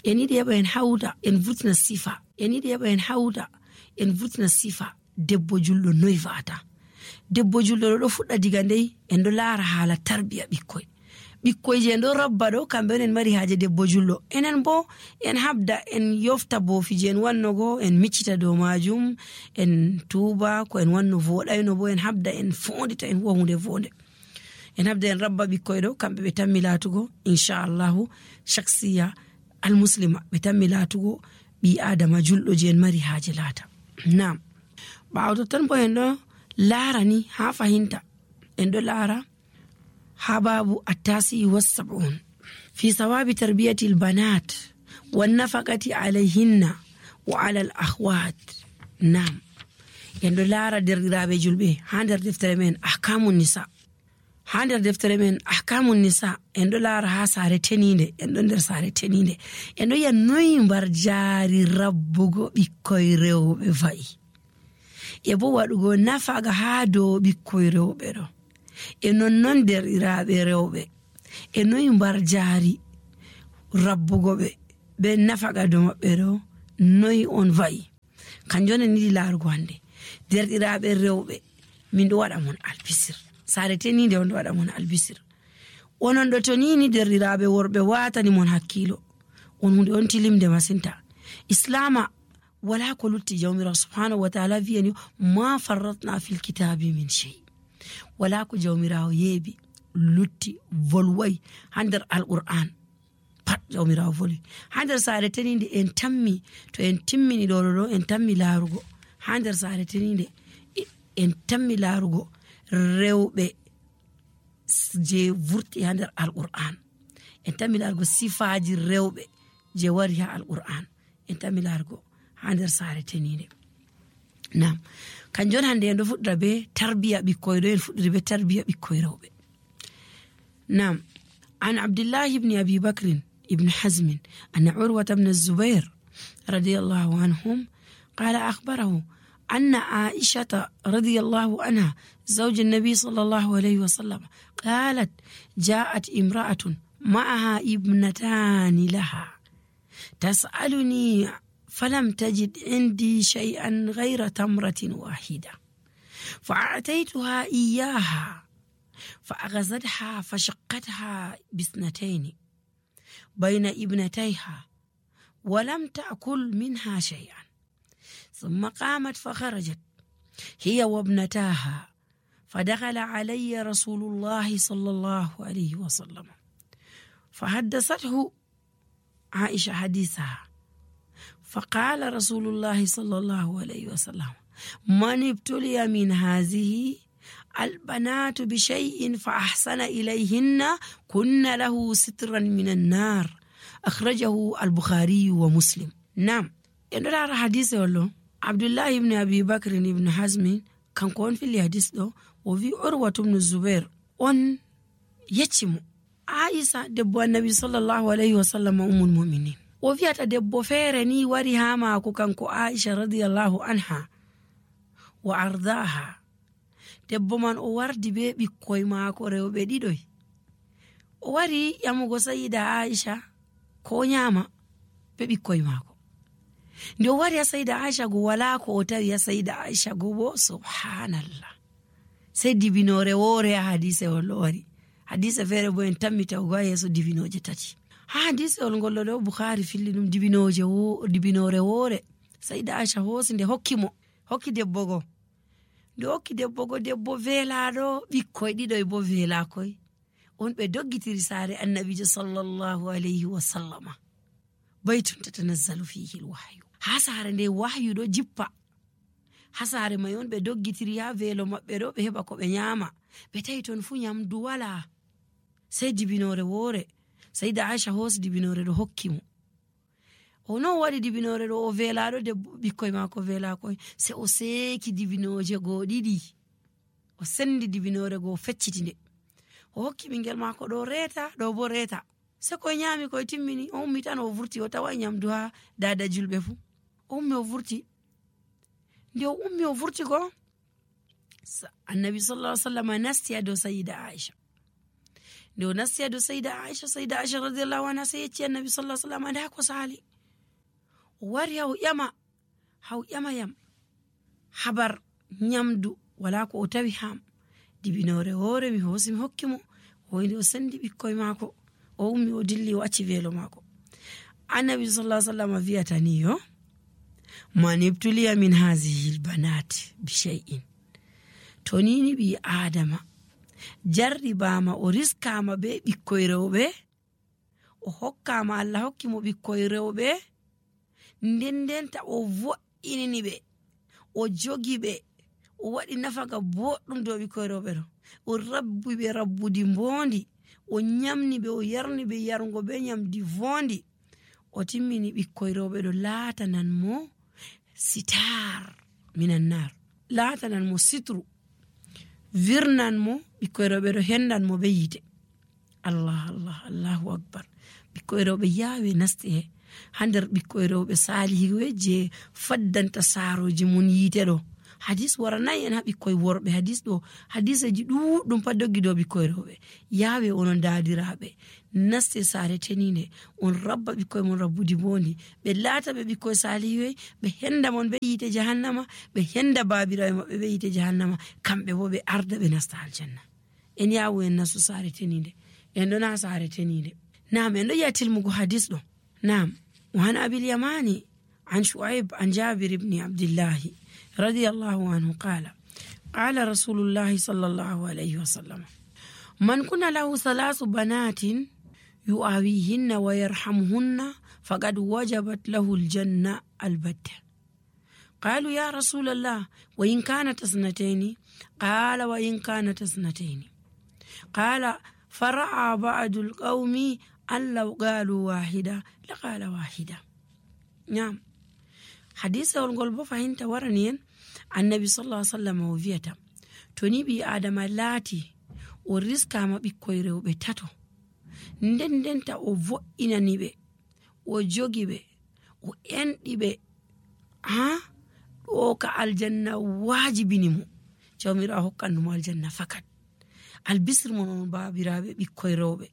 en yiɗi heɓa en hawda en vurtina sifa, en yiɗi heɓa en hawda en vurtina sifa debbo julɗo noy va'ata. Debbo julɗo ɗo fuɗɗa diga ndey en ɗo laara haala tarbiya ɓikkoy je en ɗo rabba ɗo kamɓe on en mari haaje debbo julɗo. Enen bo en habda en yofta boofiji en wannogo, en miccita dow majum, en tuuba ko en wanno voɗayno, bo en habda en fondita en huwa hunde vonde. En habda en rabba ɓikkoy ɗo kamɓe ɓe tammi laatugo inchallahu shaksiya almuslima, ɓe tammi laatugo ɓi adama julɗo je en mari haaje laata. Naam, ɓaawo totton bo en ɗo laara ni ha fahinta en ɗo laara ha babu attasi was-sab'un fi sawabi tarbiyati al-banat wan nafaqati alayhinna wa ala al-akhwat. Naam, en ɗo laara derɗiraaɓe julɓe ha nder deftere men ahkamun nisa. Ha nder deftere men ahkamun nisa en ɗo laara ha saare teninde, en ɗo nder saare teninde en ɗo yi'a noyi mbar jaari rabbugo ɓikkoy rewɓe va'i, e bo waɗugo nafaga ha dow ɓikkoy rewɓe ɗo, e nonnon derɗiraaɓe rewɓe e noyi mbar jaari rabbugo ɓe be nafaga dow maɓɓe ɗo noyi on va'i. Kanjum en yiɗi laarugo hande. Derɗiraaɓe rewɓe min ɗo waɗa mon albisir, saare teninde on ɗo waɗa mon albisir. Onon ɗo to nini derɗiraaɓe worɓe watani mon hakkilo, on hunde on tilimde masinta. Islama wala ko lutti. Jawmirawo subhanahu wa ta'ala wiyani ma farratna fil kitabi min shay. Wala ko jawmirawo yeebi lutti volway ha nder alqur'an pat jawmirawo voli. Ha nder saare teninde en tammi, to en timmini ɗo en tammi laarugo ha nder saare teninde en tammi laarugo rewɓe je vurti ha nder alqur'an, en tammi laarugo sifaji rewɓe je wari ha alqur'an, en tammi laarugo ha nder saare teninde. Naam, kanjon hande en ɗo fuɗɗira be tarbiya ɓikkoy ɗo, en fuɗɗiri be tarbiya ɓikkoy rewɓe. Naam, an Abdullahi ibn Abi Bakrin ibn Hazmin anna Urwata ibn Zubair radiyallahu anhum qala akhbarahu أن عائشة رضي الله عنها زوج النبي صلى الله عليه وسلم قالت جاءت امرأة معها ابنتان لها تسألني فلم تجد عندي شيئا غير تمرة واحدة فأعطيتها إياها فأغزتها فشقتها باثنتين بين ابنتيها ولم تأكل منها شيئا ثم قامت فخرجت هي وابنتاها فدخل علي رسول الله صلى الله عليه وسلم فحدثته عائشة حديثها فقال رسول الله صلى الله عليه وسلم من ابتلي من هذه البنات بشيء فأحسن إليهن كن له سترا من النار أخرجه البخاري ومسلم. نعم، إنه حديث والله عبد الله بن أبي بكر بن حزم كان كون في الحديث ده وفي عروة بن الزبير on yeccimo Aisha debbo annabi sallallahu alayhi wa sallam ummul mu'minin o wi'ata debbo feere ni wari ha maako kanko Aisha radiyallahu anha wa ardaha. Debbo man o wardi be ɓikkoy maako rewɓe ɗiɗoy, o wari yamugo sayida Aisha ko nyama be ɓikkoy maako. Nde o wari ya sayida Aisha go wala ko o tawi ya sayida Aisha go bo subhanallah sai dibinore wore ya hadise wala wari hadise fere bo en tammita o yeso dibinoje tati. Ha hadise ol gollo do Bukhari filli dum dibinore wore sayida Aisha hosi nde hokki debbo go. Nde hokki debbo go, debbo velado ɓikkoy ɗiɗoy bo vela koy on ɓe doggitiri saare annabijo sallallahu alayhi wa sallama baytun tatanazzalu fihi alwahyu. Ha saare nde wahyu do jippa ha saare may on ɓe doggitiri ha velo maɓɓe ɗo ɓe heɓa ko ɓe nyama, ɓe tawi ton fu nyamdu wala sai dibinore wore. sayida Aisha hosi dibinore ɗo hokki mo. O non waɗi dibinore ɗo o velaɗo debbo ɓikkoy maako vela koy sai o seki dibinoje go ɗiɗi, o sendi dibinore go fecciti nde o hokki ɓingel maako ɗo reta ɗo bo reta. Se koy nyami koy timmini o ummi tan o vurti o tawa nyamdu ha dada julɓe fu o ummi o vurti. Nde o ummi o vurti ko annabi sallallahu alaihi wasallam nasti ado sayida Aisha. nde o nasti ado sayda Aisha radiyallahu anha sai yecci annabi sallallahu alaihi wasallam nda ko sali o wari haw ƴama yam habar nyamdu wala ko o tawi ham dibinore hore mi hosi mi hokki mo o inde o sendi ɓikkoy maako o ummi o dilli o acci velo maako. Annabi sallallahu alaihi wasallam wi'ata ni yo man ibtuliya min hazihi albanat bi shay'in to ni bi adama jarribama o riskama be ɓikkoy rewɓe o hokkama Allah hokki mo ɓikkoy rewɓe ndendenta o vo'inini ɓe o jogi ɓe o waɗi nafaga boɗɗum dow ɓikkoy rewɓe ɗo o rabbi ɓe rabbude mbondi o nyamni ɓe o yarni ɓe yargo be nyamdi vondi o timmini ɓikkoy rewɓe ɗo laatanan mo sitar minan nar laatanan mo sitru virnan mo ɓikkoy rewɓe ɗo hendan mo be yite. Allahu akbar. ɓikkoy rewɓe yaawe nasti ha nder ɓikkoy rewɓe salihiɓe je faddanta saaroji mun yite ɗo. Hadis waranayi en ha ɓikkoy worɓe hadiseji ɗuɗɗum pat doggi dow ɓikkoy rewɓe yaawe onon daadiraɓe naste saare teninde on rabba ɓikkoy mon rabbudi bondi ɓe laata ɓe ɓikkoy salihiɓe ɓe henda mon ɓe yite jahannama ɓe henda babiraɓe maɓɓe ɓe yite jahannama kamɓe bo ɓe arda ɓe nasta aljanna. En yawu en nastu saare teninde en ɗo na saare teninde. Naam en ɗo yi'a tilmugo hadis ɗo. Naam وعن أبي اليماني عن شعيب عن جابر بن عبد الله رضي الله عنه قال رسول الله صلى الله عليه وسلم من كن له 3 بنات يؤويهن ويرحمهن فقد وجبت له الجنة البتة. قالوا يا رسول الله وإن كانت 2؟ قال وإن كانت 2. قال فرأى بعض القوم أن لو قالوا واحدة لقال واحدة. نعم حديث والقلب فهمت ورنين النبي صلى الله عليه وسلم وفيتا توني بي آدم لاتي ورزق ما بكوي رewɓe tato ndendenta o vo'inani ɓe o jogi ɓe o enɗi ɓe ɗo ka aljanna wajibini mo jawmirawo hokkandumo aljanna fakat albisir mon on babiraɓe ɓikkoy rewɓe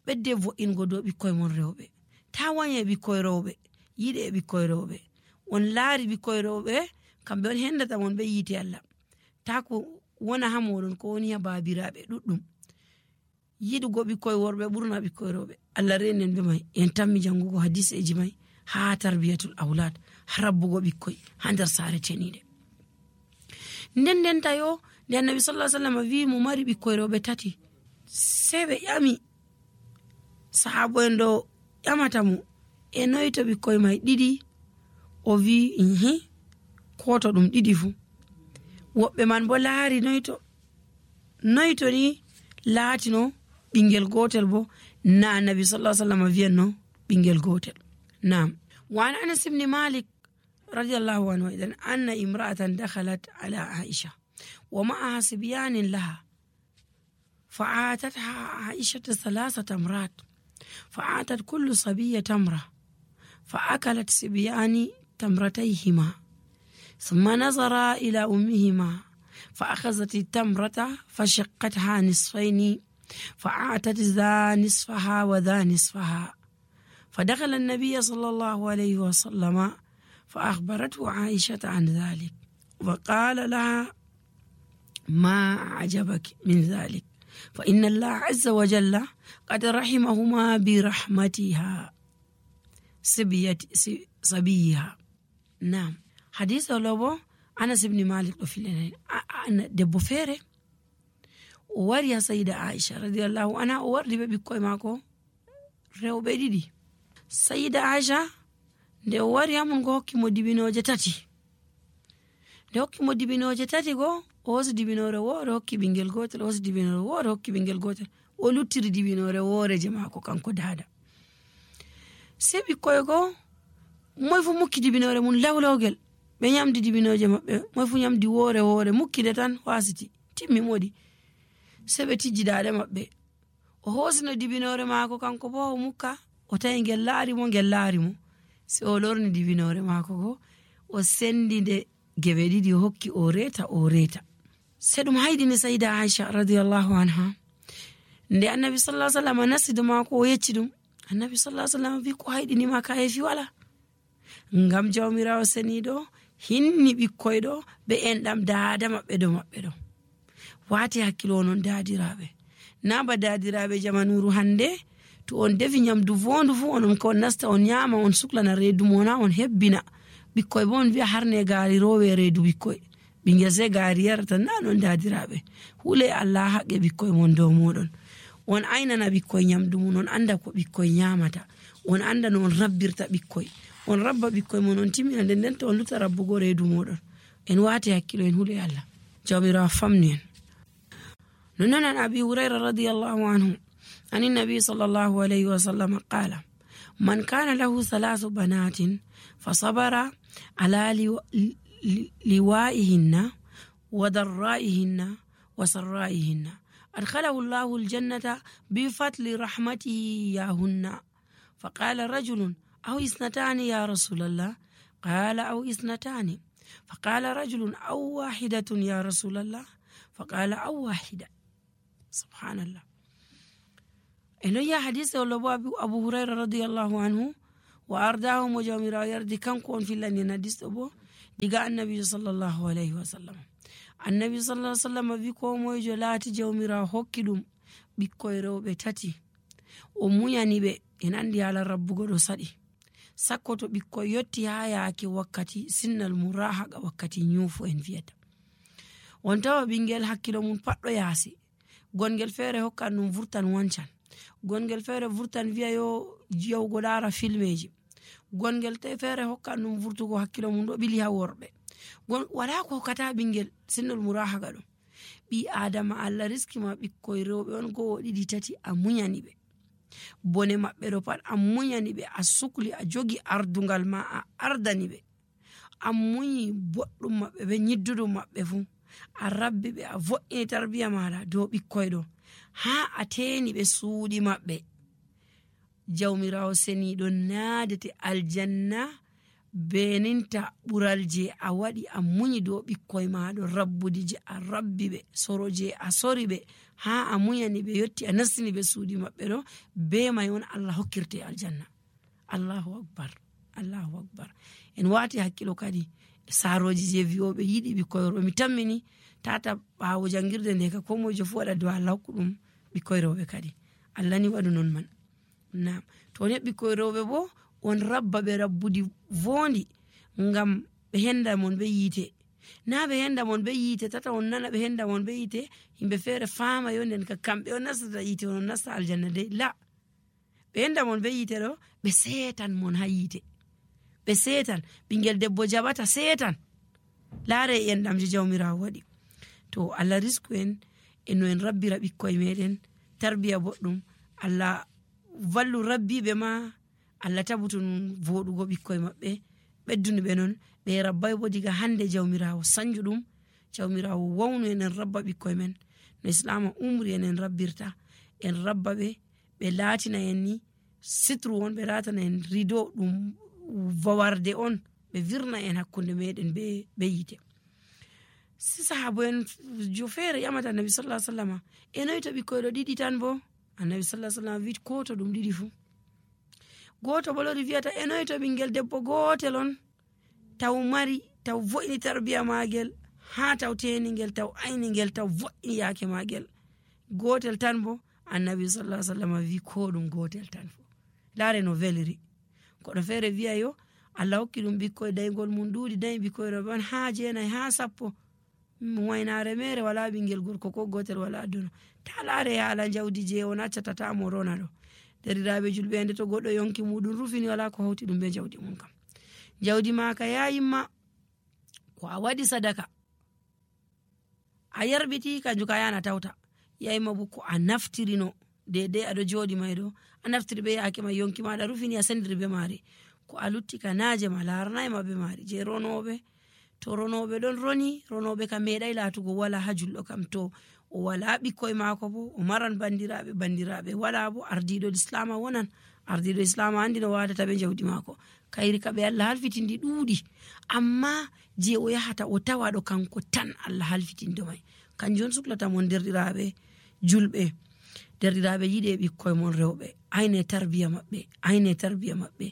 ɓedde vo'ingo dow ɓikkoy mon rewɓe ta wanye ɓikkoy rewɓe yiɗe ɓikkoy rewɓe on laari ɓikkoy rewɓe kamɓe on hendata mon ɓe yiite Allah ta ko wona ha moɗon ko woni ha babiraɓe ɗuɗɗum yiɗugo ɓikkoy worɓe ɓurna ɓikkoy rewɓe. Allah renen ɓe mai en tammi jangugo hadiseji mai ha tarbiyatul aulad ha rabbugo ɓikkoy ha nder saare teniɗe. Ndendenta yo nde annabi sallallahu alaihi wasallam wi mo mari ɓikkoy rewɓe 3 sai ɓe ƴami sahabo en ɗo ƴamata mo e noyto ɓikkoy mai 2 o wi koto ɗum 2 fu. Woɓɓe man bo laari noyto ni laatino ɓingel gotel bo na annabi sallallahu alaihi wasallam wiyanno ɓingel gotel. Naam وعن أنس بن مالك رضي الله عنه إذن أن امرأة دخلت على عائشة ومعها صبيان لها فعاتتها عائشة 3 تمرات فعاتت كل صبية تمرة فأكلت صبيان تمرتيهما ثم نظرا إلى أمهما فأخذت التمرة فشقتها نصفين فأعطت ذا نصفها وذا نصفها فدخل النبي صلى الله عليه وسلم فأخبرته عائشة عن ذلك وقال لها ما عجبك من ذلك فإن الله عز وجل قد رحمهما برحمتها صبيها. نعم حديث لو أنس بن مالك في دبو فيري ووريا سيدة عائشة رضي الله عنها ووري بكوي ماكو ريو بيدي سيدة عائشة nde o wari amun go hokki mo dibinoje 3 nde hokki mo dibinoje 3 go o hosi dibinore woore hokki ɓingel gotel o hosi dibinore woore hokki ɓingel gotel o luttiri dibinore woore je maako kanko dada sei ɓikkoy go moy fu mukki dibinore mun lawlawgel ɓe nyamdi dibinoje maɓɓe moy fu nyamdi woore mukkide tan wasiti timmi modi sei ɓe tijji dade maɓɓe o hosino dibinore maako kanko bo o mukka o tawi ngel laari mo se o lorni dibinore maako go o sendinde gebe 2 o hokki o reta se ɗum haydini sayda Aisha radiyallahu anha nde annabi sallallahu alaihi wasallam nasti do maako o yecci ɗum, annabi sallallahu alaihi wasallam wi ko hayɗinima ka heefi wala, ngam jawmirawo seniɗo hinni ɓikkoyɗo ɓe enɗam daada maɓɓe do maɓɓe ɗo. Wati hakkilo onon daadiraɓe, na ba daadiraɓe jamanuru hande to on defi nyamdu vondu fu onon ko nasta on nyama on suklana reedu mona on hebbina ɓikkoy bo on wiya harne gaari rowe reedu ɓikkoy, ɓingel sai gaari yarata. Na non daadiraɓe, hule Allah haqqe ɓikkoy mon dow moɗon. On aynana ɓikkoy nyamdu mun, on anda ko ɓikkoy nyamata, on anda no on rabbirta ɓikkoy, on rabba ɓikkoy mon on timmina nden to on luta rabbugo reedu moɗon. En wati hakkilo en hule Allah jawmirawo famni en. نون عن أبي هريرة رضي الله عنه عن النبي صلى الله عليه وسلم قال: من كان له 3 بنات فصبر على لوائهن وضرائهن وسرائهن أدخله الله الجنة بفضل رحمته إياهن. فقال رجل: أو 2 يا رسول الله؟ قال: أو 2. فقال رجل: أو 1 يا رسول الله؟ فقال: أو 1. سبحان الله. إنه يا حديث أبو هريرة رضي الله عنه وأرداه مجامرا يردي كم كون في لن يندس أبو دقاء النبي صلى الله عليه وسلم. النبي صلى الله عليه وسلم بيكو موجو لاتي جومرا هكذا بيكويرو بتاتي ومياني بي إن عندي على رب قدو صدي سكوتو بيكو يوتي هاياكي وكتي سن المراحق وكتي نيوفو إن فيتا وانتوا بينجل حكيلو من پاتو ياسي gongel feere hokkan ɗum vurtan wancan, gongel feere vurtan wiya yo jiyawgo laara filmeji, gongel feere hokkan ɗum vurtugo hakkilo mum ɗo ɓili ha worɓe. Wala ko hokkata ɓingel sinnol murahaga ɗum. ɓi adama Allah riski ma ɓikkoy rewɓe on 1 2 3 a munyani ɓe bone maɓɓe ɗo pat a munyani ɓe, a sukli a jogi ardungal ma a ardani ɓe, a munyi boɗɗum maɓɓe ɓe nyidduɗum maɓɓe fu, a rabbi ɓe, a vo'ini tarbiya maɗa dow ɓikkoy ɗo ha a teni ɓe suuɗi maɓɓe. Jawmirawo seniɗo naadete aljanna beninta ɓural je a waɗi a munyi dow ɓikkoy maɗo, rabbudi je a rabbi ɓe, soro je a sori ɓe ha a munyani ɓe yotti a nastini ɓe suuɗi maɓɓe ɗo, be may on Allah hokkirte aljanna. Allahu akbar, Allahu akbar. En wati hakkilo kadi saroji je wiyoɓe yiɗi ɓikkoy rewɓe. Mi tammini tata ɓawo jangirde nde ka ko mojo fu waɗa dow Allah hokku ɗum ɓikkoy rewɓe kadi. Allah ni waɗu non man. Naam, to ne ɓikkoy rewɓe bo on rabba ɓe rabbudi vondi ngam ɓe henda mon ɓe yiite. Na ɓe henda mon ɓe yiite tata on nana ɓe henda mon ɓe yiite himɓe feere faama yo nden ka kamɓe on nastata yiite on nasta aljanna de. La, ɓe henda mon ɓe yiite ɗo ɓe seetan mon ha yiite, ɓe seetan ɓingel debbo jaɓata seetan laare enɗam je jawmirawo waɗi. To Allah risku en eno en rabbira ɓikkoy meɗen tarbiya boɗɗum, Allah vallu rabbiɓe ma, Allah tabutu nun voɗugo ɓikkoy maɓɓe, ɓedduni ɓe non ɓe rabbay bo diga hande jawmirawo sanju ɗum, jawmirawo wawnu enen rabba ɓikkoy men no islama umri enen rabbirta, en rabba ɓe ɓe laatina en ni sitru on, ɓe latana en rido ɗum vawarde on, ɓe virna en hakkunde meɗen be yite. Si sahabo en jo feere yamata annabi sallallahu alaihi wasallam enoy to ɓikkoy ɗo ɗiɗi tan bo annabi sallallahu alaihi wasallam wi ko to ɗum ɗiɗi fu. Goto bo lori wiyata enoy to ɓingel debbo gotel on taw mari taw vo'ini tarbiya magel ha taw teningel taw ayningel taw vo'ini yake magel, gotel tan bo annabi sallallahu alaihi wasallam wi ko ɗum gotel tan fu. Laare no veliri. Koɗo feere wiya yo Allah hokki ɗum ɓikkoy daygol mum ɗuuɗi dayi ɓikkoy rewɓe on ha 9 ha 10, waynare mere wala ɓingel gorko ko gotel wala aduna. Ta laare haala jawdi je on accata ta mo rona ɗo. Deriraɓe julɓe ende to goɗɗo yonki muɗum rufini wala ko hawti ɗum be jawdi mum kam. Jawdi maka yayimma ko a waɗi sadaka a yarbiti kanju ka yana tawta, yayimma bo ko a naftirino dedei aɗo joɗi may ɗo a naftiri be yake ma yonki maɗa rufini a sendiri be mari, ko a lutti ka naaje ma laranayma be mari. Je ronoɓe to ronoɓe ɗon roni, ronoɓe ka meeɗay latugo wala ha julɗo kam, to o wala ɓikkoy mako bo o maran bandiraɓe wala bo ardiɗo islama wonan, ardiɗo islama andi no watata be jawdi mako, kayri ka ɓe Allah halfitindi ɗuuɗi, amma je o yahata o tawaɗo kanko tan Allah halfitindo may. Kanjum suklata mon derɗiraɓe julɓe, derdiraaɓe yiɗe ɓikkoye mon rewɓe, ayne tarbiya maɓɓe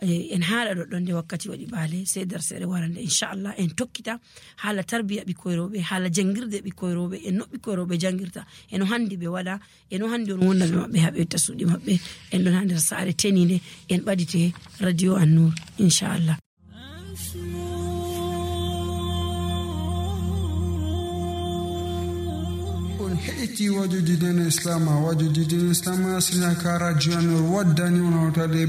en haala ɗoɗɗon nde wakkati waɗi ɓaale sey darseere warande inchallah en tokkita haala tarbiya ɓikkoye rewɓe, haala jangirde ɓikkoye rewɓe, en no ɓikkoye rewɓe jangirta, eno handi ɓe waɗa, eno handi on wonnaɓe maɓɓe haɓe tasuɗi maɓɓe. En ɗon ha nder saare teninde en ɓadite radio An-Nur inchallah. heɗiti wajoji dina islam wajoji dina islam asina ka radio An-Nur waddani on hawtade